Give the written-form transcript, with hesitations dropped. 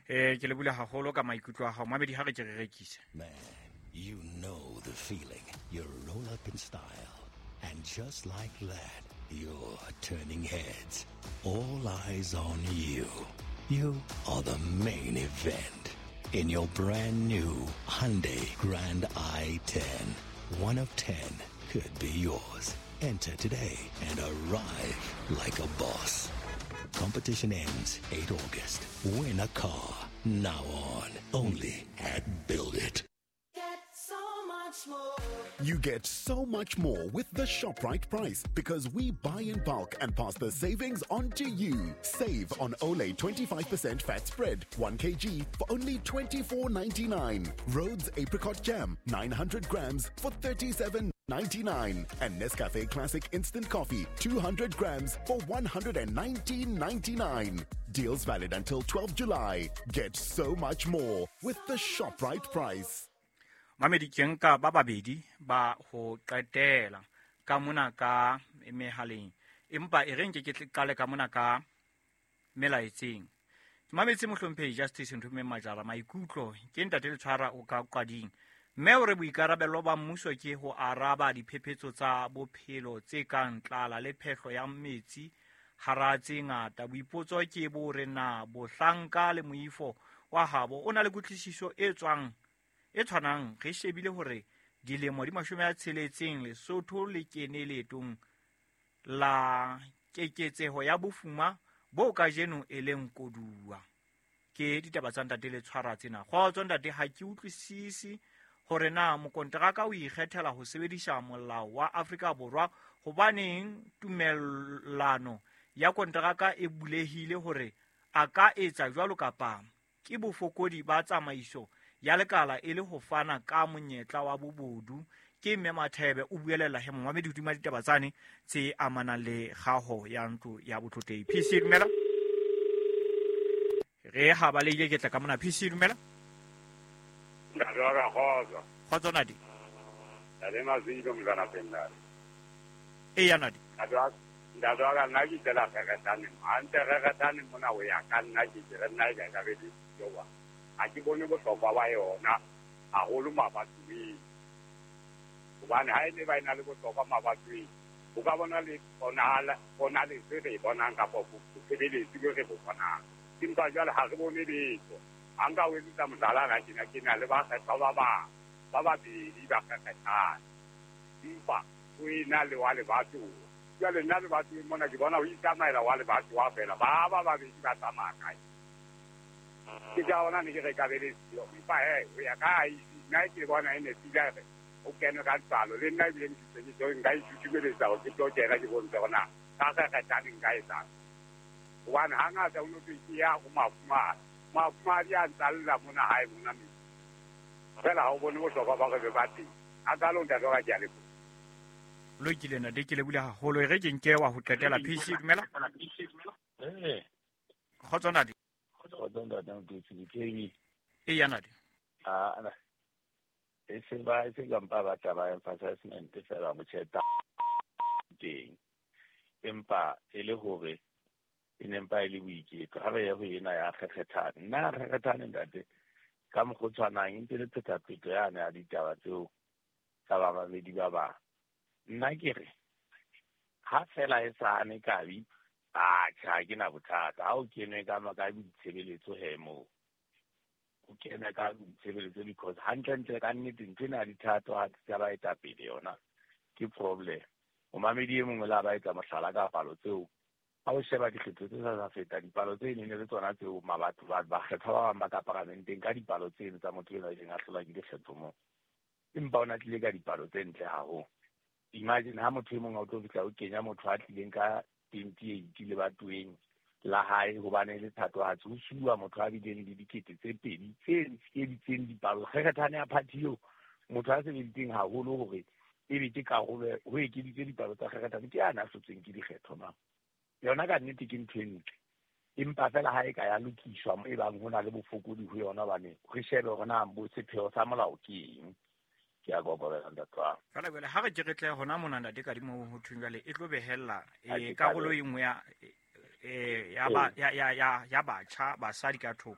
Ke lebule haholo ka maikutlo a hao mamedi, ha re ke re rekise. Man, you know the feeling. You roll up in style. And just like that, you're turning heads. All eyes on you. You are the main event. In your brand new Hyundai Grand i10, one of 10 could be yours. Enter today and arrive like a boss. Competition ends 8 August. Win a car now on only at Build It. You get so much more with the ShopRite price because we buy in bulk and pass the savings on to you. Save on Olay 25% fat spread, 1 kg for only $24.99. Rhodes apricot jam, 900 grams for $37.99. And Nescafe Classic Instant Coffee, 200 grams for $119.99. Deals valid until 12 July. Get so much more with the ShopRite price. Mamedi, ke nka ba babedi ba ho qetela ka mona ka mehaleng, empa e reng ke ke qale ka mona ka melaetseng. Ke mametse mohlomphehi Justice Nthomeng Majara, maikutlo ke ntate Letshwara o ka qading, mme o re boikarabelo ba mmuso ke ho araba diphephetso tsa bophelo tse kang tlala le phehlo ya metsi hara tse ngata. Boipotso ke bo re na bohlanka le moifo wa habo o na le kutlwisiso e tswang e tshwanang. Re shebile hore dilemo di 60 Lesotho le kene leetong la keketseho ya bofuma bo kajeno e leng koduwa. Ke ditaba tsa ntate Letshwara tsena. Kgotso ntate, ha ke utlwisise hore na mokonteraka o ikgethela ho sebedisa molao wa Afrika Borwa, hobaneng tumellano ya konteraka e bulehile hore a ka etsa jwalo kapa ke bofokodi ba tsamaiso ya lekala e le ho fana ka monyetla wa bobodu. Ke Mme Mathebe o buelela he mongwamedi hodima ditaba tsane tse amanang le kgaho ya ntlo ya botlotlehi. PC dumela. Re ha ba leile ke tla ka mona. PC dumela. Ntate wa ka, kgotso. Kgotso Nadi. Ntate Mazwilo mzana Pendale. Eya Nadi. Ntate wa ka, nna ke itlela Kgekgethane. Hantle Kgekgethane mona ho ya ka nna ke ke re nna e ka ka be le jowa. Ha ke bone bohlokwa ba yona haholo mabatoweng. Hobane ha e ne ba ena le bohlokwa mabatoweng, o ka bona le ponaletso e re e bonang kapa bosebeletsi bo re bo bonang. Empa jwale ha re bone letho. Ha nka o etsetsa mohlala na ke na le bakgethwa ba bang ba babedi ba Kgekgethane, empa o ena le wa lebatowa. Jwale nna lebatoweng mona ke bona ho itsamaela wa lebatowa feela, ba ba babedi ba tsamaya kae? Ke ka ona ne ke re ka be le siyo. Empa he, ho ya ka IEC, nna ke bona e nepile re o kene ka tsalo. Le nna ebile ke se ke tlo nka itshusumeletsa hore ke tlo kena ke bontshe hore na ka Kgekgethane nka etsang. Hobane hangata o no thwe ke ya ho mafumahadi. Mafumahadi a ntsalla mona hae mona metseng. Feela ha o bone bohlokwa ba hore be ba teng. A kalo ntate wa ka, ke a leboha. Lokile ntate, ke lebohile haholo. E re ke nke wa ho qetela. PC dumela. Kgotso ntate. Kgotso ntate Moketsi, ke KB. Eya ntate. Ah, e se ba e se ka mpa ba taba emphasizement fela mo tjheta teng. Empa e le hore e ne mpa e le boiketlo. Ha re ye ho ena ya Kgekgethane. Nna Kgekgethane ntate ka mokgwa o tshwanang e ntse le phetapheto yane ya ditaba tseo tsa bamamedi ba bang. Nna ke re ha fela e sa hane kabi, atjhe, ha ke na bothata. Ha o kenwe ka ka ditshebeletso he moo. O kene ka ditshebeletso because hantlentle ka nnete ntho ena ya dithatohatsi tsa baetapele yona ke problem. Momamedi e mongwe le a ba etsa mohlala ka palo tseo. Ha o sheba dikgetho tse sa feta, dipalo tse neng le tsona tseo mabatho ba bakgethwa ba bang ba ka paramenteng ka dipalo tseno tsa motho enwa e leng a hlolwa ke dikgetho moo. Empa o na tlile ka dipalo tse ntle haholo. Imagine ha motho e mong a o tlo fihla o kenya motho a tlileng ka 28 lebatoweng la hae hobane le thatohatsi, ho suwa motho a bileng le dikete tse pedi tse ekeditseng dipalo. Kgekgethane ya party eo motho a sebeditseng haholo hore ebe ke karolo ho ekeditse dipalo tsa Kgekgethane ke yana a hlotsweng ke dikgetho ma. Yona ka nnete ke ntho e ntle. Empa fela ha e ka ya lokiswa e bang ho na le bofokodi ho yona hobane re shebe hore na bo sepheo sa molao ke eng. Ke a kokobela ntate wa. Fela jwale ha re ke re tle hona mona ntate Kadimo ho thweng jwale e tlo behella karolo e nngwe ya batjha basadi ka thoko.